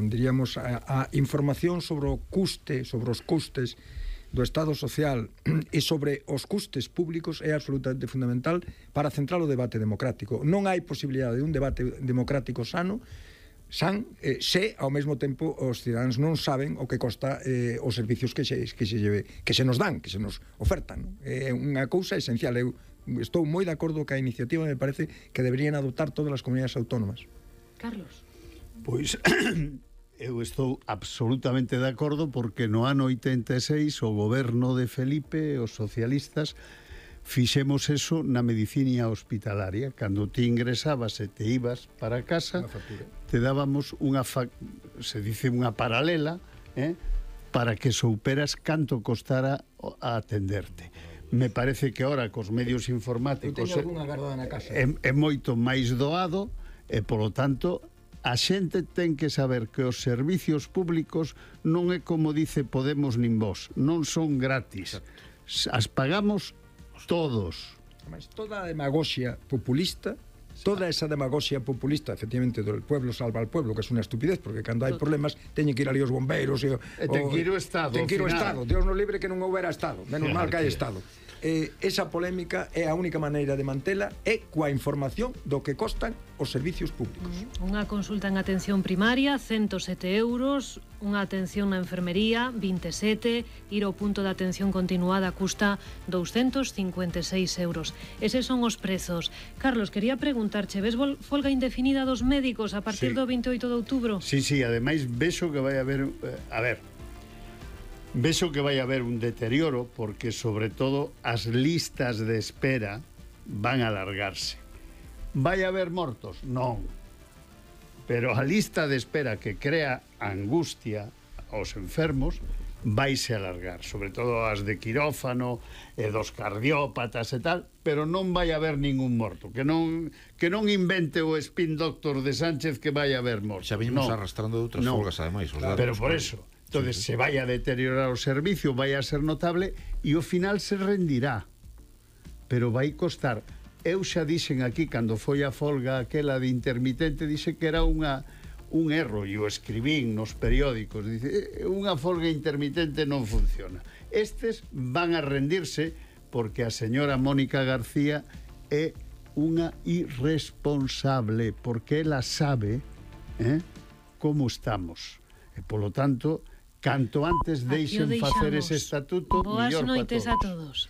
diríamos, a información sobre o custe, sobre os custes do Estado social e sobre os custes públicos é absolutamente fundamental para centrar o debate democrático. Non hai posibilidade de un debate democrático sano se ao mesmo tempo os cidadáns non saben o que costa os servicios que se nos dan, que se nos ofertan. É unha cousa esencial. Eu estou moi de acordo que a iniciativa me parece que deberían adoptar todas as comunidades autónomas. Carlos. Pois eu estou absolutamente de acordo, porque no ano 86 o goberno de Felipe, os socialistas, fixemos eso na medicina hospitalaria. Cando ti ingresabas e te ibas para casa, te dábamos se dice unha paralela, para que souperas canto costara a atenderte. Me parece que ahora cos medios informáticos é moito máis doado, e polo tanto a xente ten que saber que os servicios públicos non é como dice Podemos nin Vos, non son gratis. As pagamos todos. Toda a demagoxia populista, efectivamente, do pueblo salva al pueblo, que é unha estupidez, porque cando hai problemas teñen que ir ali os bombeiros e ten que ir o Estado. Ten que ir o Estado. Dios nos libre que non houbera Estado. Menos mal que hai Estado. Esa polémica é a única maneira de mantela é coa información do que costan os servicios públicos. Unha consulta en atención primaria, 107 euros, unha atención na enfermería, 27, ir ao punto de atención continuada custa 256 euros. Eses son os prezos. Carlos, quería preguntarche, ves folga indefinida dos médicos a partir do 28 de outubro? Sí, ademais vexo que vai haber... Vexo que vai haber un deterioro, porque sobre todo as listas de espera van a alargarse. Vai haber mortos? Non. Pero a lista de espera que crea angustia aos enfermos vaise alargar, sobre todo as de quirófano e dos cardiópatas e tal, pero non vai haber ningún morto, que non invente o spin doctor de Sánchez que vai haber morto. Xa vimos arrastrando de outras folgas, ademais. Pero por eso... Entonces se vai a deteriorar o servicio, vai a ser notable, e ao final se rendirá, pero vai costar. Eu xa dixen aquí, cando foi a folga aquela de intermitente, dixe que era un erro, e o escribín nos periódicos, dice, unha folga intermitente non funciona. Estes van a rendirse porque a señora Mónica García é unha irresponsable, porque ela sabe como estamos, e polo tanto, canto antes deixen facer ese estatuto, mellor para todos. Boas noites a todos.